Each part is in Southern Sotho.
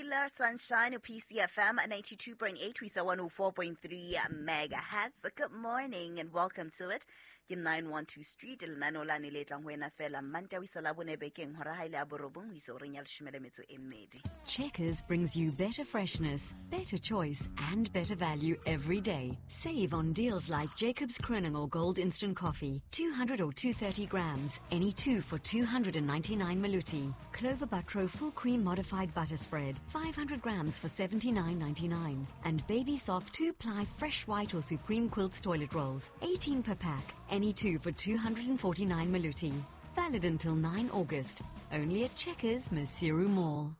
Taylor Sunshine, PCFM 92.8 ho isa 104.3 megahertz. Good morning and welcome to it. Ke 912 Street, lenaneo lane le tlang ho wena fela Manta ho isa Labone bekeng hora ha ile ya borobong ho isa horeng ya leshome le metso e mmedi. Checkers brings you better freshness, better choice, and better value every day. Save on deals like Jacobs Kroning or Gold Instant Coffee, 200 or 230 grams, any two for 299 Maluti. Clover Butro Full Cream Modified Butter Spread, 500 grams for 79.99. And Baby Soft 2-ply Fresh White or Supreme Quilts Toilet Rolls, 18 per pack, any two for 249 Maluti. Valid until 9 August. Only at Checkers, Maseru Mall.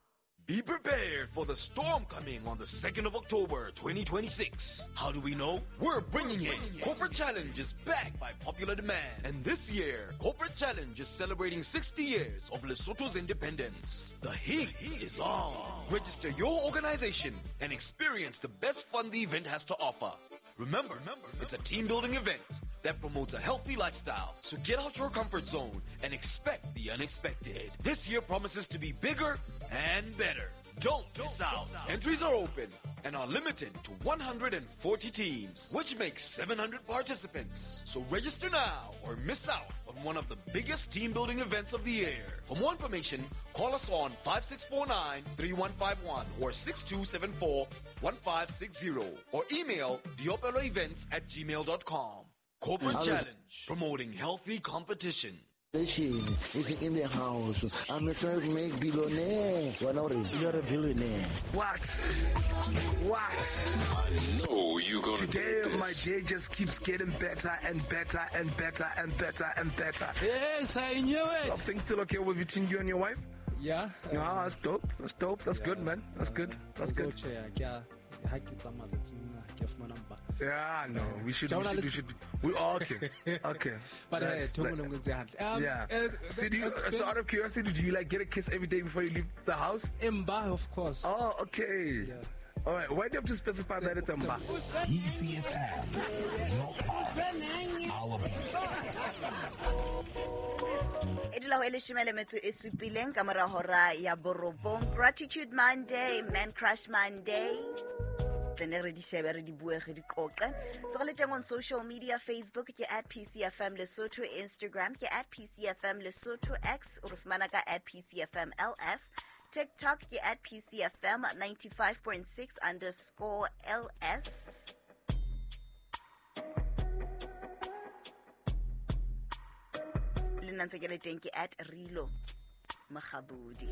Be prepared for the storm coming on the 2nd of October 2026. How do we know? We're bringing it. Corporate Challenge is back by popular demand. And this year, Corporate Challenge is celebrating 60 years of Lesotho's independence. The heat is on. Register your organization and experience the best fun the event has to offer. Remember, it's a team building event that promotes a healthy lifestyle. So get out your comfort zone and expect the unexpected. This year promises to be bigger and better. Don't miss out. Entries are open and are limited to 140 teams, which makes 700 participants. So register now or miss out on one of the biggest team building events of the year. For more information, call us on 5649 3151 or 6274 1560 or email diopeloevents@gmail.com. Corporate Challenge, promoting healthy competition. Is in the house. I'm a self-made billionaire. You're a billionaire. What? What? I know you're gonna Today, do this. my day just keeps getting better and better and better and better and better. Yes, I knew it. Are things still okay with between you and your wife? Yeah. Ah, that's dope. That's dope. That's good, man. That's good. That's good. Yeah, no, we should. We should. We all okay. Okay. But yeah. So, so out of curiosity, do you like get a kiss every day before you leave the house? Mba, of course. Oh, okay. Yeah. All right. Why do you have to specify that it's a mba? PCFM, your pulse, our beat. E dula ho e leshome le metso e supileng ka mora hora ya borobong. Gratitude Monday, Man Crush Monday. Tlene re di shebe, re di bue, re di qoqe. Tse le teng on social media, Facebook ke @PCFM Lesotho, Instagram ke @PCFM Lesotho, X o re fumana ka @PCFMLS, TikTok ke @PCFM 95.6 underscore LS. Le nna ntse ke le teng ke @Rilo Mokgabudi.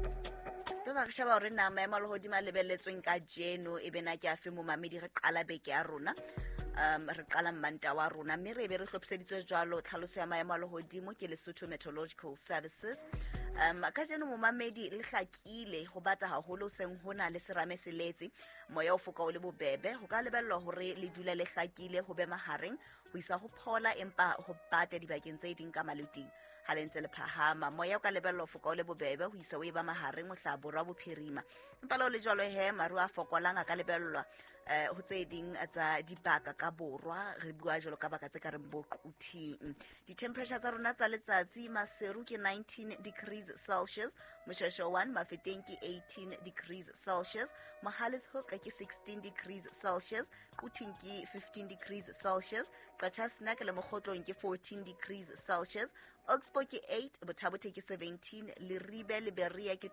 Tota re sheba hore na maemo a lehodimo a lebelletsweng kajeno e be na ke afe momamedi. Re qala beke ya rona, re qala mmanta wa rona, mme re be re hlophiseditswe jwalo tlhaloso ya maemo a lehodimo ke Lesotho Meteorological Services. Kajeno momamedi le hlakile ho bata haholo seng hona le serame se letse, moya o foka o le bobebe. Ho ka lebellwa hore le dule le hlakile ho be mahareng ho isa ho phola, empa ho bata dibakeng tse ding ka maluting. Ha le ntse le phahama, moya o ka lebellwa ho foka o le bobebe ho isa o e ba mahareng ho hlaha borwa bophirima. Empa le ho le jwalo he, maru a fokolang a ka lebellwa ho tse ding tsa dibaka ka borwa. Re bua jwalo ka baka tse ka reng bo Quthing. Di-temperature tsa rona tsa letsatsi, Maseru ke 19 degrees Celsius, Moshweshwe 1, Mafeteng ke 18 degrees Celsius, Mohale's Hoek ke 16 degrees Celsius, Quthing ke 15 degrees Celsius, Qacha's Nek le Mokgotlong ke 14 degrees Celsius, Oxbow ke 8, Botha-Bothe ke 17, Leribe le Berea ke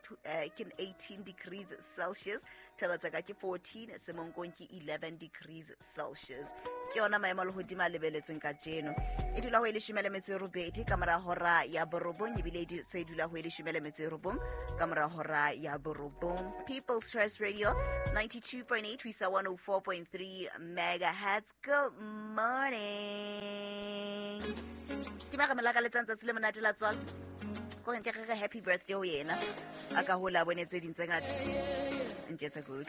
18 degrees Celsius, Thaba-Tseka ke 14, Semonkong ke 11 degrees Celsius. Ke yona maemo a lehodimo a lebelletsweng kajeno. E dula ho e leshome le metso e robedi ka mora hora ya borobong, ebile e se dula ho e leshome le metso e robong ka mora hora ya borobong. People's Choice Radio 92.8 ho isa 104.3 megahertz. Good morning. Ke ba re melaka letsang tsatsi le monate la tswalo. Ko re nke re happy birthday ho yena. A ka hola bone tse ding tse ngata. Ntjetse kuhle.